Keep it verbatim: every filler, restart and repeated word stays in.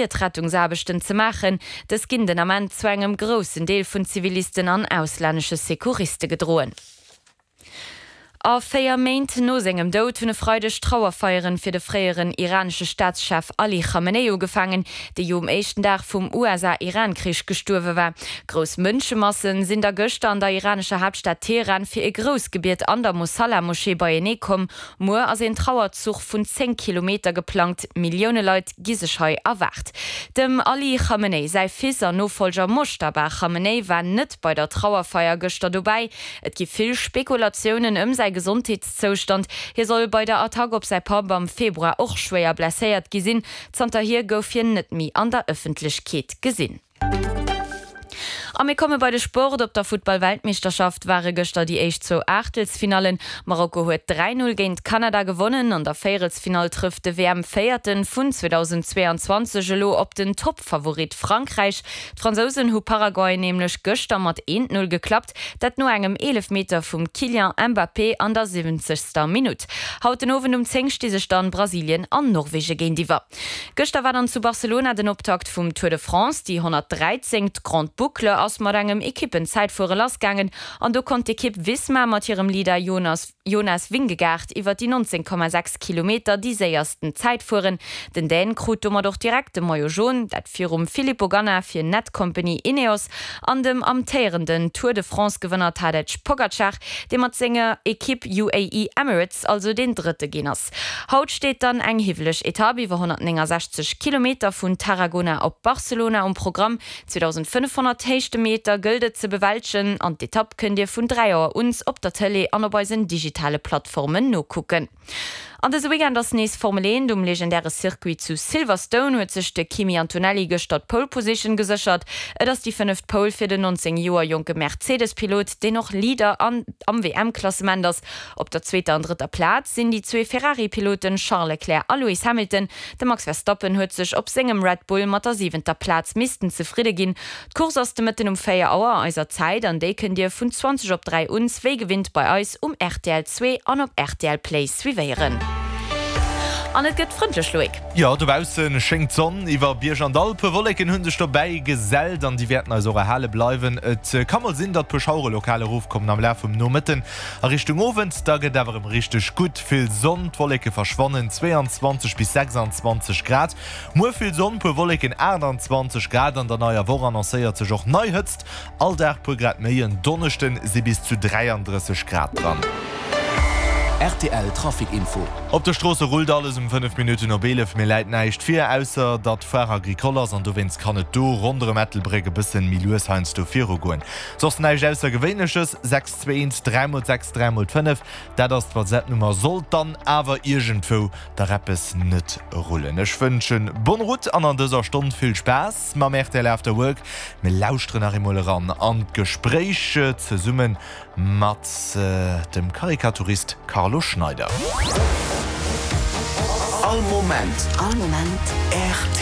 d'Rettungsaarbechten ze maachen. Dës ginn den Ament zu engem groussen Deel vun Zivilisten an auslännesche Secouriste gedroen. A véier Méint no sengem Doud hunn e Freideg Trauerfeieren fir de fréieren iranesche Staatschef Ali Chamenei ugefaangen, dee jo um éischten Dag vum USA-Iran-Krich gestuerwe war. Grouss Mënschemassen sinn da gëschter an der iranescher Haaptstad Teheran fir e grousst Gebiet an der Mosalla-Moschee beienee komm. Muer ass een Trauerzuch vun zéng Kilometer geplangt, Millioune Leit gi sech hei erwaart. Dem Ali Chamenei säi Fils an Nofollger Moschtaba Chamenei war net bei der Trauerfeier gëschter dobäi. Et gi vill Spekulatiounen ëm säi Gesondheetszoustand. Hie soll bei der Attack op säi Papp am Februar och schwéier blesséiert gi sinn. Zanterhier gouf hien net méi an der Ëffentlechkeet gesinn. A mir komme bei de Sport. Op der Futtball-Weltmeeschterschaft ware gëschter déi éischt zwou Aachtelsfinallen. Marokko huet dräi Null géint Kanada gewonnen. An der Véierelsfinall trëfft de W M-Véierte vun zweedausendzweeanzwanzeg elo op den Toppfavorit Frankräich. D'Fransousen hu Paraguay nämlech gëschter mat eent Null geklappt, dat no engem Eelefmeter vum Kylian Mbappé an der siwwenzegster Minutt. Haut den Owend um zéng sti sech dann Brasilien an Norwegen géintiwwer. Gëschter war dann zu Barcelona den Optakt vum Tour de France. Déi honnertdräizéngt Grande Boucle ass mat engem Ekippenzäitfuere lassgaangen an do konnt d'Ekipp Visma mat hirem Leader Jonas Jonas Vingegaard iwwer déi nonzéng Komma sechs Kilometer déi séiersten Zäit fueren. Den Dän krut domat och direkt de Maillot Jaune, dat virum Filippo Ganna fir Netcompany Ineos an dem amtéierenden Tour de France Gewënner Tadej Pogacar, dee mat senger Ekipp U A E Emirates also deen Drëtte ginn ass. Haut steet dann eng hiwweleg Etapp iwwer honnertnéngensechzeg Kilometer vun Tarragona op Barcelona um Programm. zweedausendfënnefhonnert Héichtemeter gëllt et ze bewältegen an d'Etapp kënnt Dir vun dräi Auer un op der Tëlee an op eisen digitale Plattformen nokucken. An dëse Weekend ass nees Formel eent. Um legendäre Circuit zu Silverstone huet sech de Kimi Antonelli gëschter d'Pole Position geséchert. Et ass déi fënneft Pole fir den nonzéng Joer jonke Mercedes-Pilot, deen och Leader an am W M-Klassement ass. Op der zweeter an drëtter Plaz sinn déi zwee Ferrari-Piloten Charles Leclerc a Lewis Hamilton. De Max Verstappen huet sech op sengem Red Bull mat der siwenter Plaz missten zefridde ginn. D'Course ass de Mëtten um véier Auer eiser Zäit an déi kënnt Dir vun zwanzeg op dräi un wéi gewinnt bei eis um R T L zwee an op R T L Play suivéieren. An et gëtt frëndlech, Loïc. Jo, dobausse schéngt d'Sonn iwwer Bierg an Dall. Puer Wolleken hu sech dobäi gesellt an déi wäerten eis och erhale bleiwen. Et ka mol sinn, datt puer Schauere lokal erofkommen am Laf vum Nomëtten a Richtung Owend. Da gëtt awer erëm richteg gutt vill Sonn, d'Wolleke verschwannen, zweeanzwanzeg bis sechsanzwanzeg Grad. Muer vill Sonn, puer Wolleken, aachtanzwanzeg Grad. An der neier Woch annoncéiert sech och nei Hëtzt, all Dag puer Grad méi. En Donneschde si bis zu dräiandrësseg Grad dran. R T L Trafic Info. Op de Stroosse rullt alles um fënnef Minutten op eelef. Mir läit näischt vir, ausser datt Foire Agricole ass an dowéinst kann et do ronderëm Ettelbréck e bëssen méi lues heiansdo virugoen. Soss näischt Aussergewéinleches. sechs zwee eent dräi mol sechs dräi mol fënnef, dat ass d'WhatsApp-Nummer, sollt dann awer iergendwou dach eppes net rullen. Ech wënschen bonne route an an dëser Stonn vill Spaass mam R T L After Work. Mir lauschteren nach eemol eran an d'Gespréich zesumme mat dem Karikaturist Carlo Schneider. All Moment. All Moment. R T L.